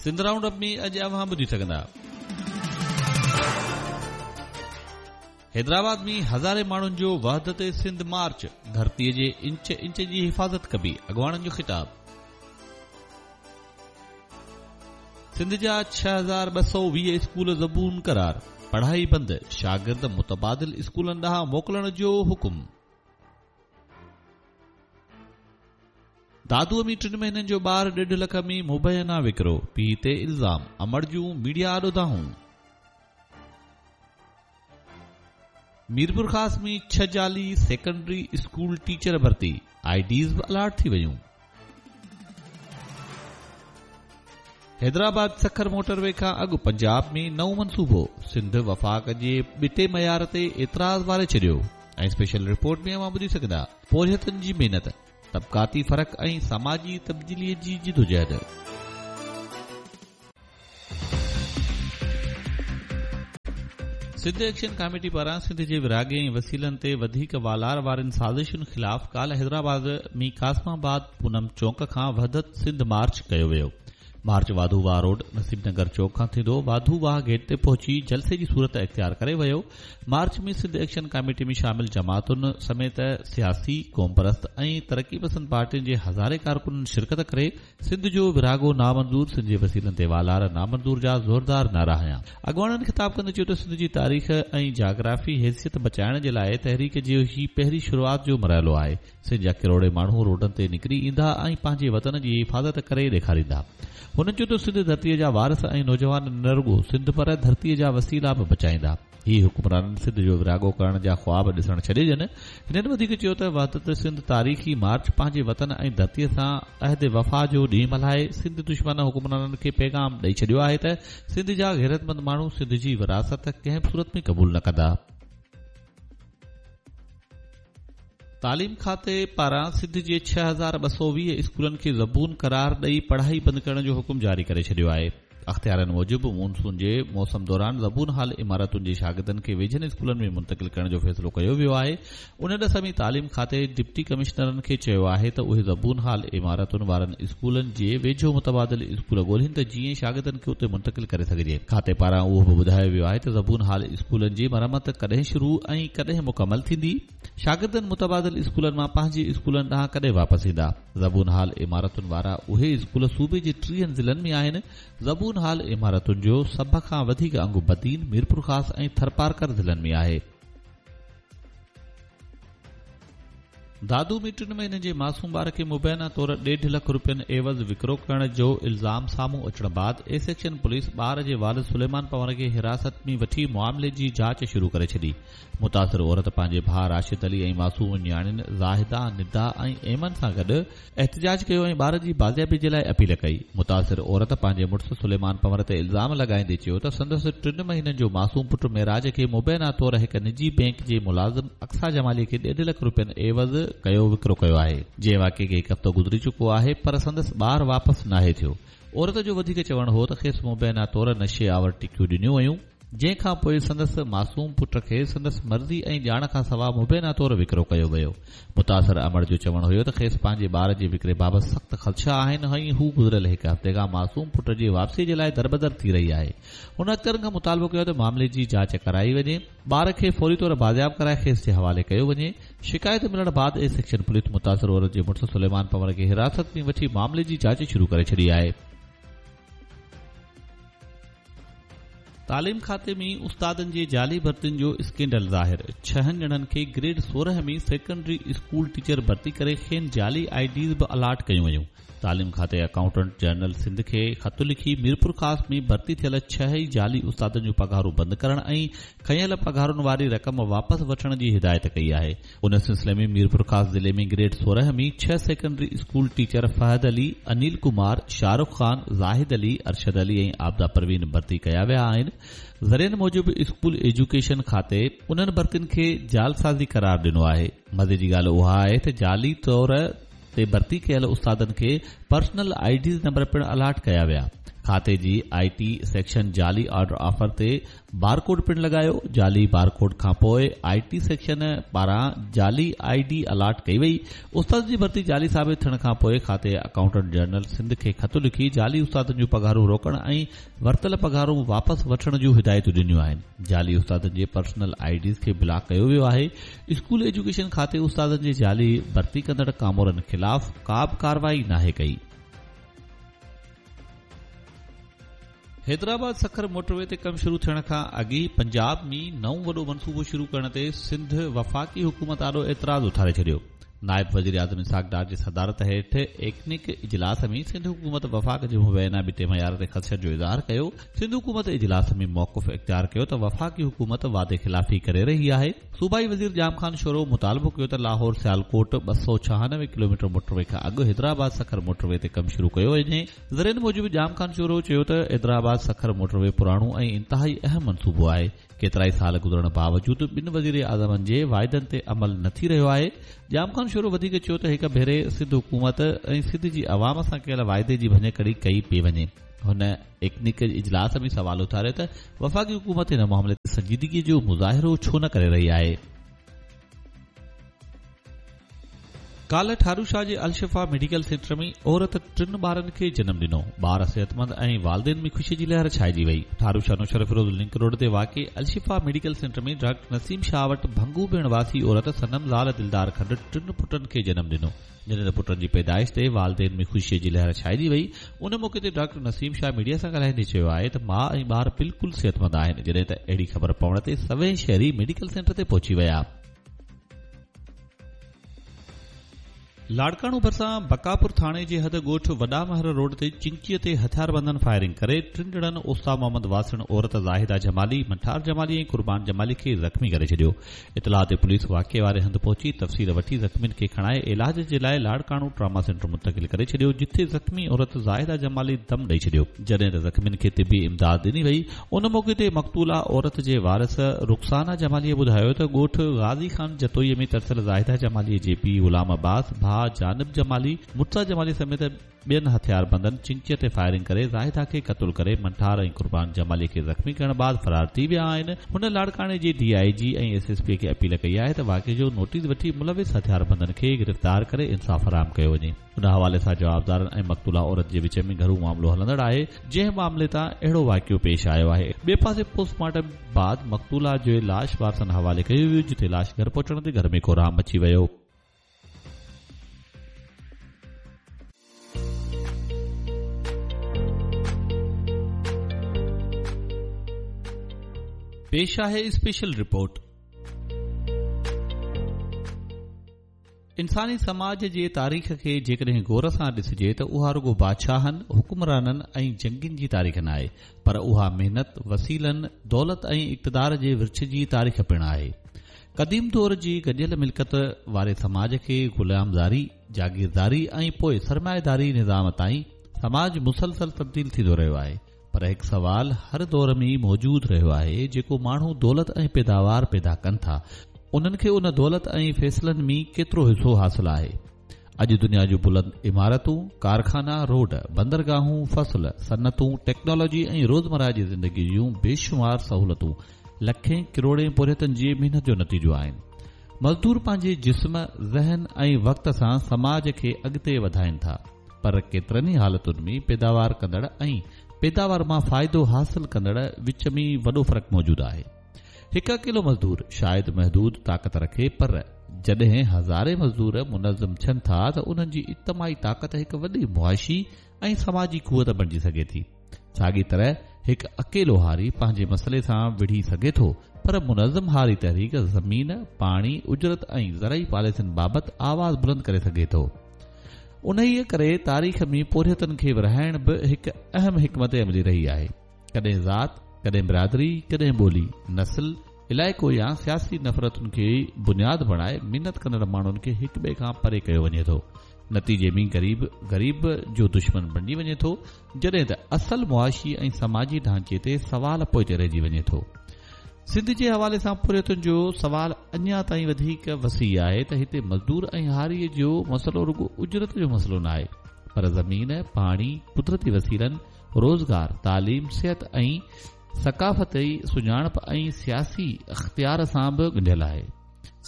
Sindh round up ۾ اڄ اوهان ٻڌي سگهندا. حيدرآباد ۾ هزارين ماڻهن جو وحدت سنڌ مارچ، ڌرتي جي انچ انچ جي حفاظت ڪبي، اڳواڻن جو خطاب. سنڌ جا 6220 اسڪول زبون قرار، پڙهائي بند، شاگرد متبادل اسڪولن ڏانهن موڪلڻ جو حڪم. دادوء ۾ ٽن مهينن جو ٻار ڏيڍ لک ۾ مبينا وڪرو، پيء تي الزام، امڙ جون ميڊيا آڏو دانهون. ميرپورخاص ۾ ڇهه جعلي سيڪنڊري اسڪول ٽيچر ڀرتي، I Ds به الاٽ ٿي ويون. حيدرآباد سکر موٽر وي کان اڳ پنجاب ۾ نئون منصوبو، سنڌ وفاق جي ٻٽي معيار تي اعتراض واري ڇڏيو ۽ اسپيشل رپورٽ ۾ اوهان ٻڌي سگهندا پورهيتن جي محنت، طبقاتي فرق ۽ سماجي تبديلي جي جدوجهد. سنڌ ايڪشن ڪاميٽي پاران سنڌ جي ورهاڱي ۽ وسيلن تي وڌيڪ والار وارين سازشن خلاف ڪالهه حيدرآباد ۾ قاسم آباد پونم چونڪ کان وحدت سنڌ مارچ ڪيو ويو. مارچ واڌو واهه روڊ نصيب نگر چوڪ کان ٿيندو واڌو واهه گيٽ تي پهچي جلسي جي صورت اختيار ڪري ويو. مارچ ۾ سنڌ ايڪشن ڪاميٽي ۾ شامل جماعتن سميت سياسي، قومپرست ۽ ترقي پسند پارٽين جي هزارين ڪارڪنن شرڪت ڪري سنڌ جو ورهاڱو نامنظور، سنڌ جي وسيلن تي والار نامنظور جا زوردار نعرا هنيا. اڳواڻن خطاب ڪندي چيو ته سنڌ جي تاريخ ۽ جاگرافي حيثيت بچائڻ جي لاء تحريڪ جو هي پهرين شروعات جو مرحلو آهي. سنڌ جا ڪروڙين ماڻهو روڊن تي نڪري ايندا ۽ پنهنجي وطن جي حفاظت ڪري ڏيکاريندا. هنن چيو ته سنڌ ڌرتيء جا وارث ۽ نوجوان نه رڳو سنڌ پر ڌرتيء جا وسيلا به بچائيندا. هي حڪمرانن سنڌ جو ورهاڱو ڪرڻ جا خواب ڏسڻ ڇڏي ڏين. هنن وڌيڪ چيو ته وحدت سنڌ تاريخي مارچ پنهنجي وطن ۽ ڌرتيء سان عهد وفا جو ڏينهن ملهائي سنڌ دشمن حڪمرانن کي پيغام ڏئي ڇڏيو آهي ته سنڌ جا غيرتمند ماڻهو سنڌ جي ورهاست ڪنهن به صورت ۾ قبول نه ڪندا. تعليم کاتي پاران سنڌ جي 6220 اسڪولن کي زبون قرار ڏئي پڙهائي بند ڪرڻ جو حڪم جاري ڪري ڇڏيو آهي. اختيارين موجب مون سون جي موسم دوران زبون حال عمارتن جي شاگردن کي ويجهن اسڪولن ۾ منتقل ڪرڻ جو فيصلو ڪيو ويو آهي. ان ڏس ۾ تعليم کاتي ڊپٽي ڪمشنرن کي چيو آهي ته اهي زبون حال عمارتن وارن اسڪولن جي ويجهو متبادل اسڪول ڳولين ته جيئن شاگردن کي اتي منتقل ڪري سگهجي. کاتي پاران اهو به ٻڌايو ويو آهي ته زبون حال اسڪولن جي مرمت ڪڏهن شروع ۽ ڪڏهن مڪمل ٿيندي. شاگردن متبادل اسڪولن مان پنهنجي اسڪولن ڏانهن ڪڏهن واپس ايندا؟ زبون حال عمارتن وارا اهي اسڪول صوبي جي ٽيهن ضلعن ۾ آهن. زبون حال عمارتن جو سڀ کان وڌيڪ انگ بدين، ميرپورخاص ۽ ٿرپارڪر ضلعن ۾ آهي. دادو ۾ ٽن مهينن جي معصوم ٻار کي مبينا طور ڏيڍ لک روپين عيوض وڪرو ڪرڻ جو الزام سامهون اچڻ بعد اي سيڪشن پوليس ٻار جي والد سليمان پنهور کي حراست ۾ وٺي معاملي جي جاچ شروع ڪري ڇڏي. متاثر عورت پنهنجي ڀاء راشد علي ۽ معصوم نياڻين زاهده، ندا ۽ ايمن سان گڏ احتجاج ڪيو ۽ ٻار جي بازيابي جي لاء اپيل ڪئي. متاثر عورت پنهنجي مڙس سليمان پنور تي الزام لڳائيندي چيو ته سندس ٽن مهينن جو معصوم پٽ معراج کي مبينا طور هڪ نجي بئنڪ جي ملازم اقصيٰ جمالي کي ڏيڍ لک روپين عيوض ڪيو وڪرو ڪيو آهي. جنهن واقعي کي هڪ هفتو گذري چڪو آهي پر سندس ٻار واپس ناهي ٿيو. عورت جو وڌيڪ چوڻ هو ته کيس مبينا طور نشي آور ٽڪيون ڏنيون ويون. جنهن کان پوء سندس معصوم پٽ کي سندس مرضي ۽ ڄاڻ کان سواء مبينا طور وڪرو ڪيو ويو. متاثر امڙ جو چوڻ هيو ته کيس پنهنجي ٻار جي وڪري بابت سخت خدشا آهن ۽ هو گذريل هڪ هفتي کان معصوم پٽ جي واپسي جي لاء دربدر ٿي رهي آهي. هن اختيارين کان مطالبو ڪيو ته معاملي جي جاچ ڪرائي وڃي، ٻار کي فوري طور بازياب ڪرائي کيس جي حوالي ڪيو وڃي. شڪايت ملڻ بعد اي سيڪشن پوليس متاثر عورت جي مڙس سليمان پنور کي حراست ۾ وٺي معاملي جي جاچ شروع ڪري ڇڏي آهي. تعليم کاتي ۾ استادن جي جعلي ڀرتين جو اسڪينڊل ظاهر، ڇهن ڄڻن کي گريڊ 16 ۾ سيڪنڊري اسڪول ٽيچر ڀرتي ڪري کين جعلي I Ds به الاٽ ڪيون ويون. تعليم کاتي اڪائونٽنٽ جنرل سنڌ کي خط لکي ميرپورخاص ۾ ڀرتي ٿيل ڇهه ئي جعلي استادن جون پگهارون بند ڪرڻ ۽ کنيل پگهارن واري رقم واپس وٺڻ جي هدايت ڪئي آهي. ان سلسلي ۾ ميرپورخاص ضلعي ۾ گريڊ 16 ۾ ڇهه secondary school teacher Fahad Ali, Anil Kumar, Shahrukh Khan, Zahid Ali, Arshad Ali ۽ Abida Parveen ڀرتي ڪيا ويا آهن. ذريعن موجب اسڪول ايجوڪيشن کاتي انهن ڀرتين کي جعلسازي قرار ڏنو آهي. مزي جي ڳالهه اها آهي ته جعلي طور تي ڀرتي ڪيل استادن کي پرسنل I Ds number پڻ الاٽ ڪيا ويا. کاتي جي آء ٽي سيڪشن جعلي آرڊر آفر تي بارڪوڊ پڻ لڳايو، جعلي بارڪوڊ کانپوء آء ٽي سيڪشن پاران جعلي I D allot ڪئي وئي، استادن جي ڀرتي جعلي ثابت ٿيڻ کانپوء کاتي اڪائونٽنٽ جنرل سنڌ کي خط لکي جعلي استادن جون پگهارون روڪڻ ۽ ورتل پگهارون واپس وٺڻ جون هدايتون ڏنيون آهن، جعلي استادن جي پرسنل I Ds کي بلاڪ ڪيو ويو آهي، اسڪول ايجوڪيشن کاتي استادن جي جعلي ڀرتي ڪندڙ ڪامورن خلاف ڪابه ڪارروائي ناهي ڪئي. حيدرآباد سکر موٽروي تي ڪم شروع ٿيڻ کان اڳ ئي پنجاب ۾ نئون وڏو منصوبو شروع ڪرڻ تي سنڌ وفاقي حڪومت آڏو اعتراض اٿاري ڇڏيو. نائب وزيراعظم اسحاق ڊار جي صدارت هيٺ ايڪنڪ اجلاس ۾ سنڌ حڪومت وفاق جي مبينا ٻٽي معيار تي خدشن جو اظهار ڪيو. سنڌ حڪومت اجلاس ۾ موقف اختيار ڪيو ته وفاقي حڪومت وعدي خلافي ڪري رهي آهي. صوبائي وزير ڄام خان شورو مطالبو ڪيو ته لاهور سيالڪوٽ 296 ڪلوميٽر موٽروي کان اڳ حيدرآباد سکر موٽروي تي ڪم شروع ڪيو وڃي. ذريعن موجب ڄام خان شورو چيو ته حيدرآباد سکر موٽروي پراڻو ۽ انتهائي اهم منصوبو آهي، ڪيترائي سال گذرڻ باوجود ٻن وزيراعظمن جي واعدن تي عمل نه ٿي رهيو آهي. ڄام خان شورو وڌيڪ چيو ته هڪ ڀيري سنڌ حڪومت ۽ سنڌ جي عوام سان ڪيل واعدي جي ڀڃڪڙي ڪئي پئي وڃي. هن ايڪنڪ اجلاس ۾ سوال اٿاريو ته وفاقي حڪومت هن معاملي تي سنجيدگي جو مظاهرو ڇو نه ڪري رهي آهي. ڪالهه ٺاروشاه جي الشفا ميڊيڪل سينٽر ۾ عورت ٽن ٻارن کي جنم ڏنو، ٻار صحتمند ۽ والدين ۾ خوشي جي لهر ڇائجي وئي. ٺاروشاه نوشهروفيروز لنڪ روڊ تي واقع Al Shifa medical centre ۾ doctor Naseem Shah وٽ ڀنگو ڀيڻ واسي عورت صنم زال دلدار کنڊ ٽن پٽن کي جنم ڏنو، جڏهن ته پٽن جي پيدائش تي والدين ۾ خوشي جي لهر ڇائجي وئي. ان موقعي تي ڊاڪٽر نسيم شاهه ميڊيا سان ڳالهائيندي چيو آهي ته ماء ۽ ٻار بلڪل صحتمند آهن، جڏهن ته اهڙي خبر پوڻ تي سوين شهري ميڊيڪل سينٽر تي پهچي ويا. لاڙڪاڻو ڀرسان بقاپور ٿاڻي جي حد ڳوٺ وڏا مهر روڊ تي چنگچي تي هٿياربندن فائرنگ ڪري ٽن ڄڻن اوستا محمد واسڻ عورت زاهده جمالي، منٺار جمالي ۽ قربان جمالي کي زخمي ڪري ڇڏيو. اطلاع تي پوليس واقعي واري هنڌ پهچي تفصيل وٺي زخمين کي کڻائي علاج جي لاء لاڙڪاڻو ٽراما سينٽر منتقل ڪري ڇڏيو جتي زخمي عورت زاهده جمالي دم ڏئي ڇڏيو. جڏهن ته زخمين کي طبي امداد ڏني وئي، ان موقعي تي مقتوله عورت جي وارث رخسانه جماليء ٻڌايو ته ڳوٺ غازي خان جتوئي ۾ ترسيل زاهده جماليء جي پيء غلام عباس، ڀاء جانب جمالي، مرتضيٰ جمالي سميت ٻين هٿياربندن چنگچيء تي فائرنگ ڪري زاهده کي قتل ڪري منٺار ۽ قربان جمالي کي زخمي ڪرڻ بعد فرار ٿي ويا آهن. هن لاڙڪاڻي جي D I G ۽ S S P کي اپيل ڪئي آهي ته واقعي جو نوٽيس وٺي ملوث هٿياربندن کي گرفتار ڪري انصاف فراهم ڪيو وڃي. ان حوالي سان جوابدارن ۽ مقتوله عورت جي وچ ۾ گهرو معاملو هلندڙ آهي، جنهن معاملي تان اهڙو واقعو پيش آيو آهي. ٻئي پاسي پوسٽ مارٽم بعد مقتوله جو لاش وارثن حوالي ڪيو ويو، جتي لاش گهر پهچڻ تي گهر ۾ ڪهرام مچي ويو. پيش آهي اسپيشل رپورٽ. انساني سماج جي تاريخ کي جيڪڏهن غور سان ڏسجي ته اها رڳو بادشاهن، حڪمرانن ۽ جنگين جي تاريخ ناهي، پر اها محنت، وسيلن، دولت ۽ اقتدار جي ورڇ جي تاريخ پڻ آهي. قديم دور جي گڏيل ملڪيت واري سماج کي غلامداري، جاگيرداري ۽ پوء سرمائيداري نظام تائين سماج مسلسل تبديل ٿيندو رهيو آهي. پر هڪ سوال هر دور ۾ موجود رهيو آهي، جيڪو ماڻهو دولت ۽ پيداوار پيدا ڪن ٿا، انهن کي ان دولت ۽ فيصلن ۾ ڪيترو حصو حاصل آهي؟ اڄ دنيا جون بلند عمارتون، ڪارخانا، روڊ، بندرگاهون، فصل، صنعتون، ٽيڪنالاجي ۽ روزمرهه جي زندگي جون بيشمار سهولتون لکين ڪروڙين پورهيتن جي محنت جو نتيجو آهن. مزدور پنهنجي جسم، ذهن ۽ وقت سان سماج کي اڳتي وڌائين ٿا. پر ڪيترن ئي حالتن ۾ پيداوار ڪندڙ ۽ پيداوار مان فائدو حاصل ڪندڙ وچ ۾ وڏو فرق موجود آهي. هڪ اڪيلو مزدور شايد محدود طاقت رکي پر جڏهن هزارين مزدور منظم ٿين ٿا ته انهن جي اجتماعي طاقت هڪ وڏي معاشي ۽ سماجي قوت بڻجي سگهي ٿي. ساڳي طرح هڪ اڪيلو هاري پنهنجي مسئلي سان وڙهي سگهي ٿو پر منظم هاري تحريڪ زمين، پاڻي، اجرت ۽ زرعي پاليسين بابت آواز بلند ڪري سگهي ٿو. انهيء ڪري تاريخ ۾ پورهيتن کي ورهائڻ به هڪ اهم حڪمت عملي رهي آهي. ڪڏهن ذات، ڪڏهن برادري، ڪڏهن ٻولي، نسل، علائقو يا سياسي نفرتن کي بنياد بڻائي محنت ڪندڙ ماڻهن کي هڪٻئي کان پري ڪيو وڃي ٿو. نتيجي ۾ غريب غريب جو دشمن بڻجي وڃي ٿو، جڏهن ته اصل معاشي ۽ سماجي ڍانچي تي سوال پوئتي رهجي وڃي ٿو. سنڌ جي حوالي سان پورهيتن جو سوال اڃا تائين وڌيڪ وسيع آهي ته هتي مزدور ۽ هاريء جو مسئلو رڳو اجرت جو مسئلو ناهي پر زمين، پاڻي، قدرتي وسيلن، روزگار، تعليم، صحت ۽ ثقافتي سڃاڻپ ۽ سياسي اختيار سان به ڳنڍيل آهي.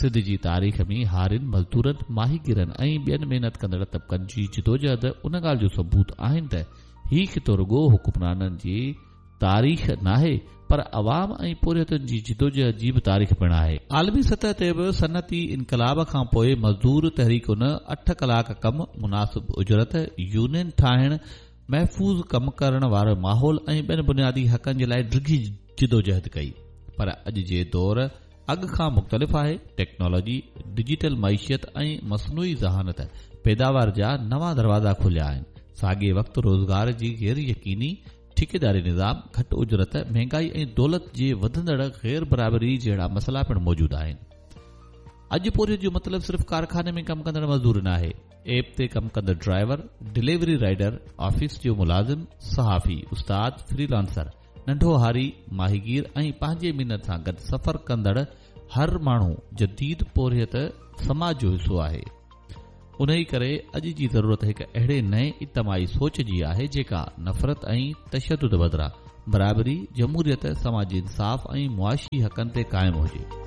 سنڌ جي تاريخ ۾ هارين، مزدورن، ماهيگيرن ۽ ٻين محنت ڪندڙ طبقن جي جدوجهد ان ڳالهه جو ثبوت آهن ته هي خطو رڳو حڪمرانن جي تاريخ ناهي پر عوام ۽ پورهيتن جي جدوجهد جي به تاريخ پڻ آهي. عالمي سطح تي به صنعتي انقلاب کان پوء مزدور تحريڪن اٺ ڪلاڪ ڪم، مناسب اجرت، يونين ٺاهڻ، محفوظ ڪم ڪرڻ وارو ماحول ۽ ٻين بنيادي حقن جي لاء ڊگهي جدوجهد ڪئي پر اڄ جي دور اڳ کان مختلف آهي، ٽيڪنالاجي، ڊجيٽل معيشت ۽ مصنوعي ذهانت پيداوار جا نوان دروازا کوليا آهن، ساڳئي وقت روزگار جي غير يقيني، ٺيڪيداري نظام، گهٽ اجرت، مهنگائي ۽ دولت جي وڌندڙ غير برابري جهڙا مسئلا پڻ موجود آهن. اڄ پورهيت جو مطلب صرف ڪارخاني ۾ ڪم ڪندڙ مزدور ناهي، ايپ تي ڪم ڪندڙ ڊرائيور، ڊليوري رائيڊر، آفيس جو ملازم، صحافي، استاد، فري لانسر، ننڍو هاري، ماهيگير ۽ پنهنجي محنت سان گڏ سفر ڪندڙ هر ماڻهو جديد پورهيت سماج جو حصو آهي. انهي ڪري اڄ جي ضرورت هڪ اهڙي نئين اجتماعي سوچ جي آهي جيڪا نفرت ۽ تشدد بدران برابري، جمهوريت، سماجي انصاف ۽ معاشي حقن تي قائم هجي.